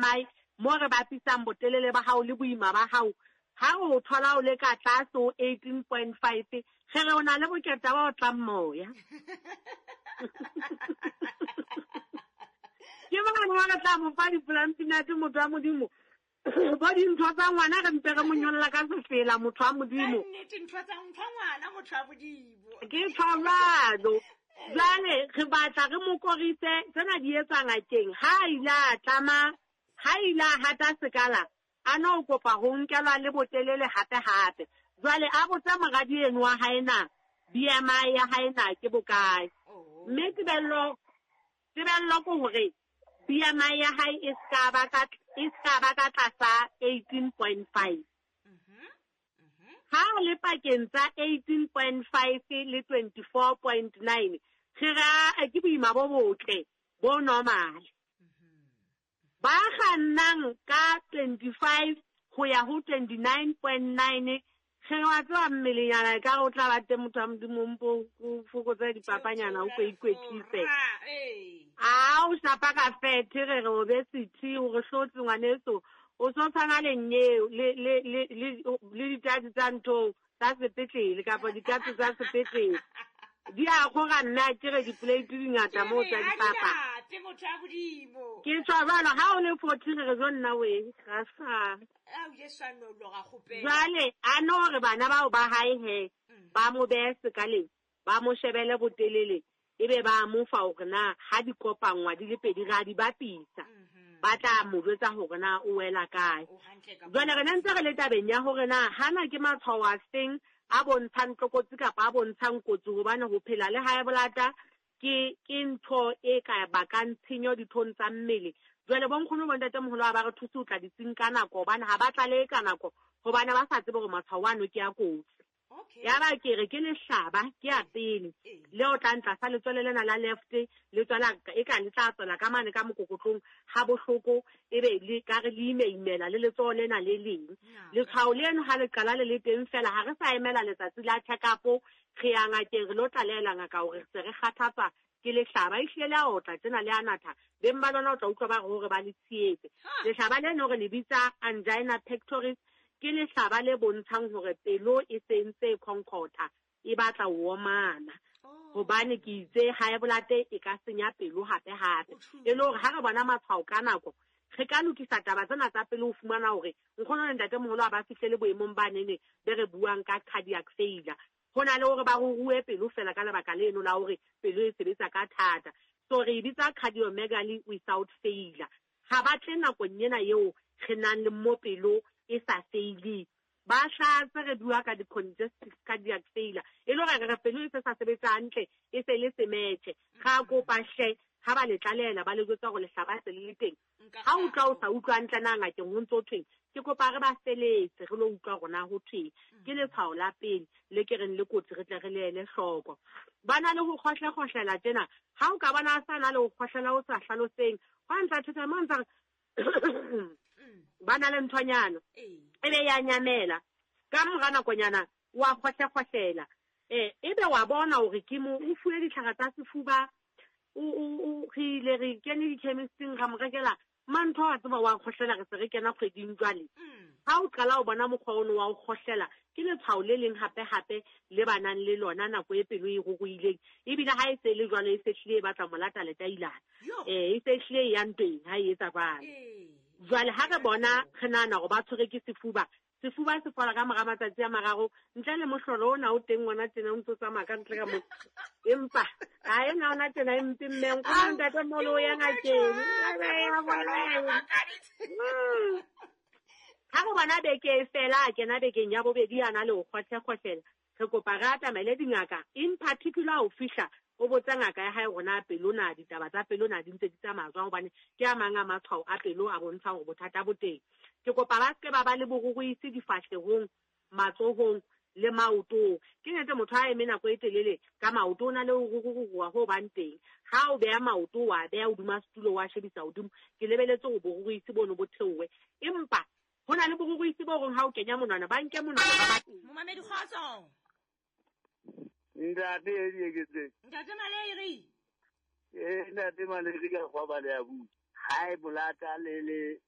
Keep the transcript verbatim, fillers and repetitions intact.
M I mo re bapisang botelele ba hao le boima ba hao. Ha o thola o le ka tlase ho eighteen point five, re re o na le boketa ba o tlang moya. Ke bana ba re tla mo fa dipolantinate motho wa Modimo. Bo dintho tsa ngwana re mpe re mo nyolla ka sefela motho wa Modimo. Ka nnete ntho tsa ntho ngwana motho wa Modimo. Ke tshwarado. Jwale re batla re mo korise tsena di etsa ngakeng. Ha ile a tlama, ha ile a hata sekala, a no kopa ho nkelwa le botelele hape hape. Jwale a botsa moradi eno wa hae na B M I ya hae na ke bokae. Mme tebello, tebello ke hore B M I ya hae e ska ba ka, e ska ba ka tlasa eighteen point five. Ha le pakeng tsa eighteen point five le twenty-four point nine, re ra ke boima bo botle bo normal. Ba kgannang ka twenty-five ho ya ho twenty-nine point nine, re wa tseba mmelenyana e ka re o tla ba teng motho wa Modimo mpo o fokotse dipapanyana o ko ikwetlise. A o shapa ka fethe re re obesity o re hlotse ngwaneso, o so tshwana le nyeo le le le le le dithatsi tsa ntho tsa sepetlele kapa dikatse tsa sepetlele. Di a kgora nna ke re di-plate di ngata moo tsa dipapa. Ke motho wa Modimo. Ke tshwa jwalo ha o le forty re re jo nna we ga sa. A o je swanno lo ga kgopela. Jwale a no re bana bao ba hae he ba mo behe sekaleng, ba mo shebele botelele, ebe ba mo fa hore na ha di kopangwa di le pedi ra di bapisa. Ba tla mo jwetsa hore na o wela kae. Jwale re ntse re le tabeng ya hore na hana ke matshwao a feng a bontshang tlokotsi kapa a bontshang kotsi, hobane ho phela le high blood ke ke ntho e ka bakang tshenyo dithong tsa mmele. Jwale bo nkgono bo ntatemoholo ha ba re thuse ho tla ditsing ka nako, hobane ha ba tlalehe ka nako, hobane ba sa tsebe hore matshwao ano ke a kotsi. Ya ba ke re ke lehlaba ke a pele le o tla ntla sa letswele lena la left le tswela e ka le tla tswela ka mane ka mokokotlong ha bohloko, ebe le ka re le imeimela le letsoho lena le leng. Letshwao leno ha le qala le le teng fela, ha re sa emela letsatsi la check-up, re ya ngakeng re lo tlalehela ngaka hore re se re kgathatswa ke lehlaba. Ehlile le a otla tjena le a natha, beng ba lona o tla utlwa ba re hore ba le tshietse. Lehlaba leno re le bitsa angina pectoris, ke lehlaba le bontshang hore pelo e se ntse e khonkotha, e batla ho omana. Hobane ke itse high blood e ka senya pelo hape hape. E le hore ha re bona matshwao ka nako, re ka lokisa taba tsena tsa pelo ho fumana hore nkgono le ntatemoholo ha ba fihlele boemong ba nene be re buang ka cardiac failure. Ho na le hore ba ruruwe pelo fela ka lebaka leno la hore pelo e sebetsa ka thata. So re e bitsa cardiomegaly without failure. Ha ba tle nakong ena eo re nang le mo pelo e sa faile. Ba hlatse re bua ka di-congestive cardiac failure. E le hore re pelo e se sa sebetsa hantle, e se le semetjhe. Ra kopa hle ha ba le tlalehela ba le jwetsa hore lehlaba se le le teng. Ha o utlwa o sa utlwa hantle na ngakeng ho ntso thweng, ke kopa re ba feletse re lo utlwa hore na ho thweng. Ke letshwao la pele le ke reng le kotsi re tle re le ele hloko. Ba na le ho kgohlekgohlela tjena, ha o ka bona a sa na le ho kgohlela o sa hlaloseng, hwa ntsa theta mo ntsa ba na le nthonyana ebe ya nyamela ka mora nakonyana wa kgohlekgohlela. Eh ebe wa bona hore ke mo o fuwe ditlhare tsa sefuba, o o re ile re kene di-chemisteng ra mo rekela mantho wa tseba wa kgohlela, re se re kena kgweding jwale. Ha o qala o bona mokgwa ono wa ho kgohlela, ke letshwao le leng hape hape le ba nang le lona nako e pelo e ruruhileng. Ebile ha e se le jwalo e se hlile e batla molata letailana. Eh e se hlile e ya ntweng ha e etsa jwalo. Jwale ha re bona re nahana hore ba tshwere ke sefuba, sefuba se fola ka mora matsatsi a mararo, ntle le mohlolo ona o teng ngwana tjena o ntso tsamaya ka ntle ka motho. Empa ha ena ona tjena e mpe mme nkgono ntatemoholo o ya ngakeng. Ha re bona beke e fela, a kena bekeng ya bobedi a na le ho kgohlekgohlela, re kopa re atamele dingaka, in particular ho fihla o botsa ngaka ya hae hore na pelo na ditaba tsa pelo na di ntse di tsamaya jwang, hobane ke a mang a matshwao a pelo a bontshang hore bothata bo teng. Ke kopa ba seke ba ba le boruruisi difahlehong, matsohong le maotong. Ke nnete motho ha eme nako e telele ka maoto o na le ho ruruha ho bang teng. Ha o beha maoto wa beha hodima setulo wa shebisa hodimo, ke lebeletse hore boruruisi bono bo theohe. Empa ho na le boruruisi bo reng ha o kenya monwana, ba nke monwana ba ba teng. Momamedi kgotso. Ntate e dieketse. Ntate Maleri. Eh ntate Maleri ka kgwa ba le ya bua. High blood le le